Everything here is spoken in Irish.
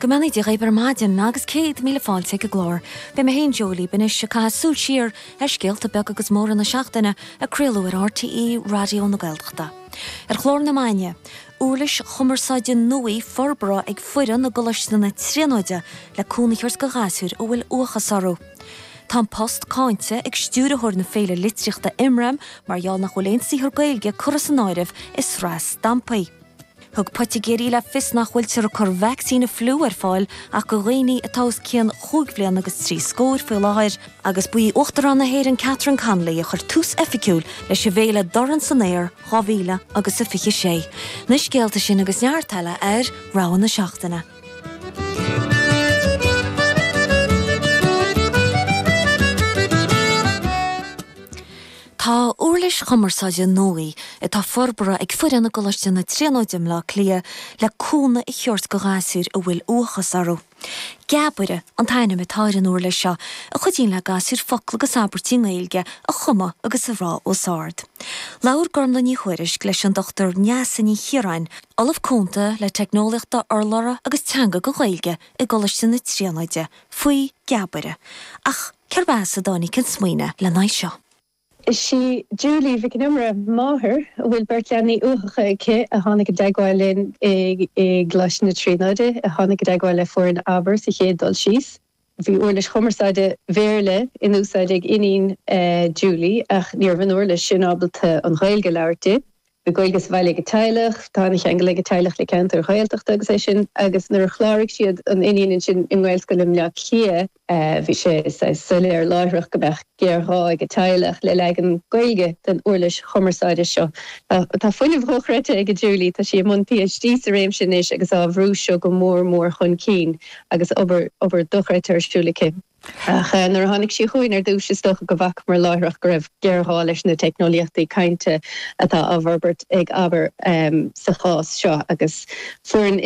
Go mbeannaí Dia dhaoibh ar maidin agus 100,000 fáilte ag an gclár. Beidh mé féin Joe libh anois ag caitheamh súil siar ar scéalta beaga agus móra na seachtaine a craoladh ar RTÉ Raidió na Gaeltachta. Ar chlár na maidine, uirlis chumarsáide nua forbartha ag foireann i gColáiste na Tríonóide le cúnamh a thabhairt do ghasúir a bhfuil uathachas orthu. Tá An Post cáinte ag stiúrthóir na féile litríochta Imram mar gheall nach bhfuil aon saothar Gaeilge curtha san áireamh i sraith stampaí. Thug poitigéirí le fios nach bhfuiltear ag cur vacsaín an fliú ar fáil ach do dhaoine atá os cionn chúig bhliana agus trí scóir faoi láthair agus ba í Uachtarán na hÉireann Catherine Connolly a chuir tús oifigiúil leis an bhféile Dorn san Aer 2000 agus a 26. Na scéalta sin agus neart eile ar Rogha na Seachtaine. Tá uirlis chumarsáide nua atá forbartha ag foireann i gColáiste na Tríonóide i mBleá Cliath le cúnamh a thabhairt do ghasúir a bhfuil uathachas orthu. Geabaire an t-ainm atá ar an uirlis seo a chuidíonn le gasúir focla agus abairtí i nGaeilge a chumadh agus a rá os ard. Labhair Gormlaith Ní Thuairisg leis an Dr Neasa Ní Chiaráin, Ollamh Cúnta le Teicneolaíochta Urlabhra agus Teanga don Ghaeilge i gColáiste na Tríonóide, faoi Geabaire. Ach cérb as a dtáinig an smaoineamh lena aghaidh seo? Is í Julie Mhic an Iomaire, máthair a bhfuil beirt leanaí uathacha aici, a tháinig i dteagmháil linn i gColáiste na Tríonóide, a tháinig i dteagmháil le foireann Abair sa chéad dul síos. Bhí uirlis chumarsáide Bhéarla in úsáid ag iníon Julie ach ní raibh an uirlis sin ábalta an Ghaeilge a labhairt di. Bhí Gaeilge sa bhaile ag an teaghlach, tá an-cheangal ag an teaghlach le ceantair Ghaeltachta agus é sin, agus nuair a chláraigh siad an iníon ansin i nGaelscoil i mBleá Cliath, bhí sé saghas soiléir láithreach go mbeadh géarghá ag an teaghlach le leagan Gaeilge den uirlis chumarsáide seo. Tá fuinneamh dhochreidte ag Julie, tá sí i mbun PhD sa réimse anois agus á bhrú seo go mór mór chun cinn agus obair, obair dochreidte ar siúl aici. Ach nuair a tháinig sí chugainn ar dtús, is dócha go bhfacamar láithreach go raibh géarghá leis na teicneolaíochtaí cainte atá á bhforbairt ag Abair sa chás seo agus foireann.